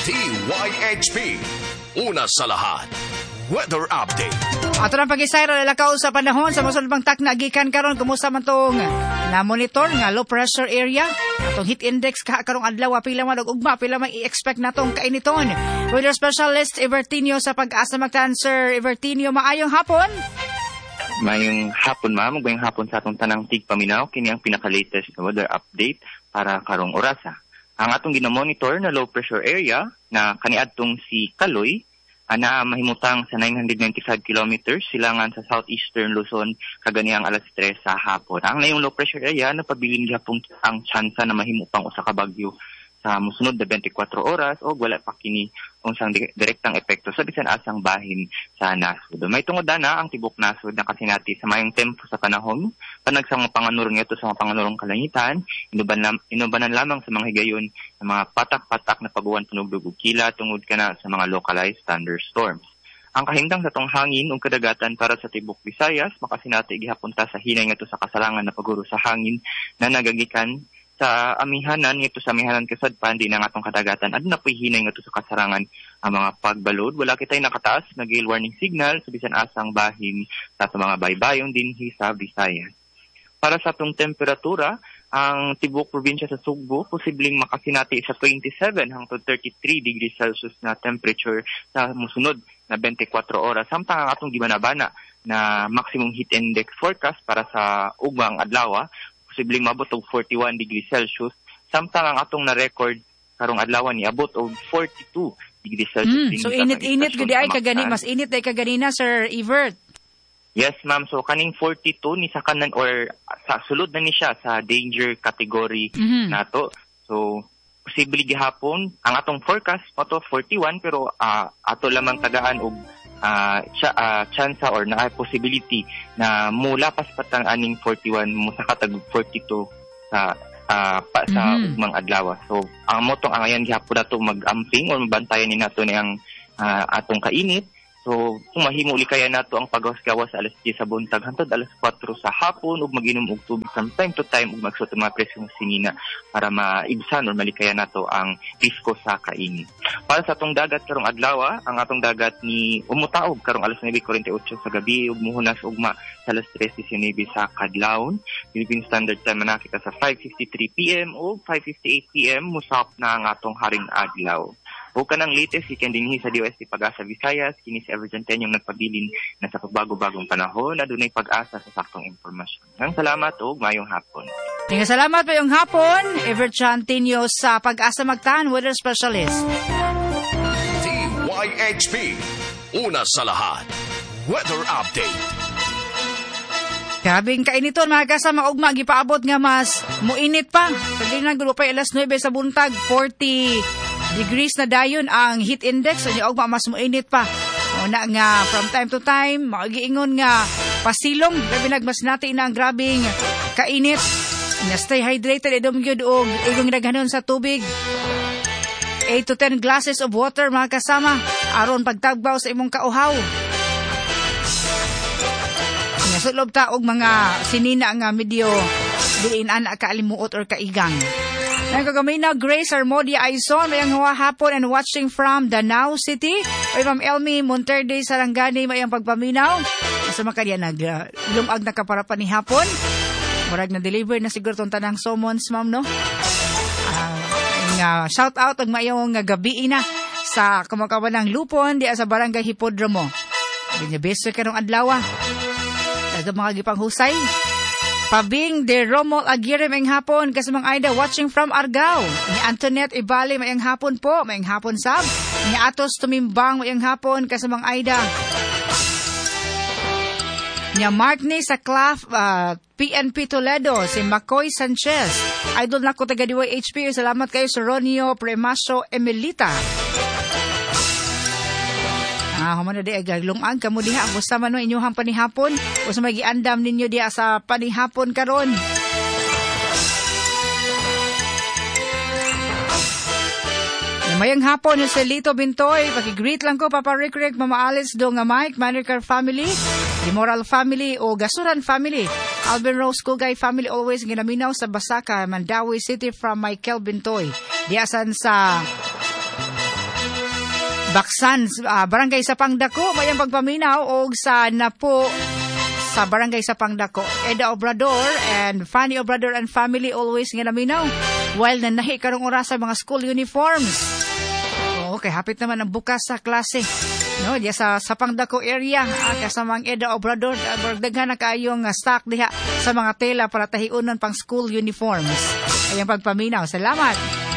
DYHP. Una sa lahat. Weather Update. Ato nang pag-isayro lalakaw sa panahon sa mosunod bang takna gikan karon, kumusta man tong na monitor nga low pressure area, atong heat index ka karong adlaw, pila man og ugma, pila man i-expect natong kainiton. Weather specialist Evertinio sa Pag-asa Mactan. Sir Evertinio, maayong hapon. Mayong hapon, ma'am, ug mayong hapon sa atong tanang tigpaminaw. Kini ang pinaka-latest na weather update para karong orasa. Ang atong gina-monitor na low pressure area na kaniadtong si Kaloy ana mahimutang sa 995 kilometers silangan sa southeastern Luzon kaganihang alas 3 sa hapon. Ang nayong low pressure area napabilin gihapon ang tsansa na mahimo pang usa ka bagyo sa mosunod na 24 oras o wala pa kini unsang direktang epekto sa bisan asang bahin sa nasod. May tungod na ang tibok nasod nakasinati sa mayong tempo sa panahon, panagsang mga panganurong ito sa mga panganurong kalangitan, inubanan lamang sa mga higayon sa mga patak-patak na paguwan, panugdog ug kila tungod kana sa mga localized thunderstorms. Ang kahimtang sa tong hangin ug kadagatan para sa tibok Visayas makasinati gihapon ta sa hinay ngadto sa kasalangan na paguro sa hangin na nagagikan sa amihanan ngadto sa amihanan kasadpan di na atong kadagatan, aduna po'y hinay ngadto sa kasarangan ang mga pagbalod. Wala kitay nakataas na gale warning signal sa bisan asang bahin sa atong mga baybayon dinhi sa Visayas. Para sa atong temperatura, ang tibok probinsya sa Sugbo posibleng makasinati sa 27 hangtod 33 degrees Celsius na temperature sa mosunod na 24 oras. Samtang ang atong gibanabana na maximum heat index forecast para sa ugmang adlaw posibleng maabot og 41 degrees Celsius, samtang ang atong na-record karong adlaw niabot og 42 degrees Celsius. So init-init gud ay kagani, mas init ay kaganina, Sir Evert. Yes, ma'am. So kaning 42 ni sa kanan or sa sulod na ni siya sa danger category nato. So posible gihapon ang atong forecast mo to 41, pero ato lamang tagaan og chance or na possibility na mulapas patang aning 41, mosaka tag 42 sa pa, sa ugmang adlaw. So ang motong angayan gihapon nato mag-amping or mabantayan ni nato niyang atong kainit. So kung mahimo kaya nato ang paggawas-gawas sa alas 10 sa buntag hantod alas 4 sa hapon ug mag-inom og tubig from time to time ug magsuot og mga preskong sinina para maibsan or malikaya nato ang risko sa kainit. Para sa atong dagat karong adlaw, ang atong dagat ni umutaob karong alas 9:48 sa gabi ug muhunas ugma sa alas 3:19 sa kadlawon. Philippine Standard Time manakita sa 5:53 PM o 5:58 PM musap na ang atong haring adlaw. O kanang latest ikan dinhi sa DOST Pag-asa Visayas, kini si Everton Tenyong nagpabilin na sa pagbago-bagong panahon adunay pag-asa sa saktong impormasyon. Ang salamat ug maayong hapon. Tinga salamat, mayong hapon, Everton Tenyo sa Pag-asa Mactan, weather specialist. DYHP, una sa lahat. Weather Update. Grabing kainiton, mga kasama, ugma gipaabot nga mas muinit pa. Pag na gulo pa alas 9 sa buntag, 40 degrees na dayon ang heat index, so ugma mas muinit pa. Una nga from time to time magiingon nga pasilong, labi nagmas nati na ang grabing kainit. Nga stay hydrated, idom gyud og igong daghanon sa tubig. 8 to 10 glasses of water, mga kasama, aron pagtagbaw sa imong kauhaw. Nga sulob ta og mga sinina nga medyo diin ana kaalimuot or kaigang. Nagkagamina Grace Armodia Aison, mayang hapon and watching from Danao City. Oy, Ma'am Elmi Monterde Sarangani, mayang pagpaminaw. Asa man kaniya nag lumag na kapara ni hapon. Murag na deliver na siguro tong tanang summons, ma'am, no? Nga shout out og mayong gabi na sa kumakawan ng Lupon diya sa Barangay Hipodromo. Dinya beso karong adlaw. Daghang mga gipanghusay. Pabing de Romol Aguirre, mayang hapon kasamang Aida watching from Argao. Ni Antoinette Ibali, mayang hapon po, mayang hapon sab. Ni Atos Tumimbang, mayang hapon kasamang Aida. Ni Mark ni sa Claf PNP Toledo, si Macoy Sanchez. Idol nako taga DYHP, salamat kayo sa Ronio Premaso Emelita. Human na di ay lungang kamo diha. Gusto man no inyuhang panihapon. Gusto may giandam ninyo diha sa panihapon karon. Mayang hapon si Lito Bintoy. Paki-greet lang ko Papa Rick Rick, Mama Alice do nga Mike, Manercar family, the Moral family o Gasuran family, Alvin Rose Kugay family always ginaminaw sa Basaka, Mandawi City from Michael Bintoy. Diasan sa Baksan, Barangay Sapang Dako, mayang pagpaminaw og sa Napo sa Barangay Sapang Dako. Eda Obrador and Fanny Obrador and family always nga naminaw. While nanahi karong oras sa mga school uniforms. Oo, kay hapit naman ang bukas sa klase. No, diya sa Sapang Dako area, kasamang Eda Obrador, daghan na kaayong stock diha sa mga tela para tahiunon pang school uniforms. Ayang pagpaminaw. Salamat.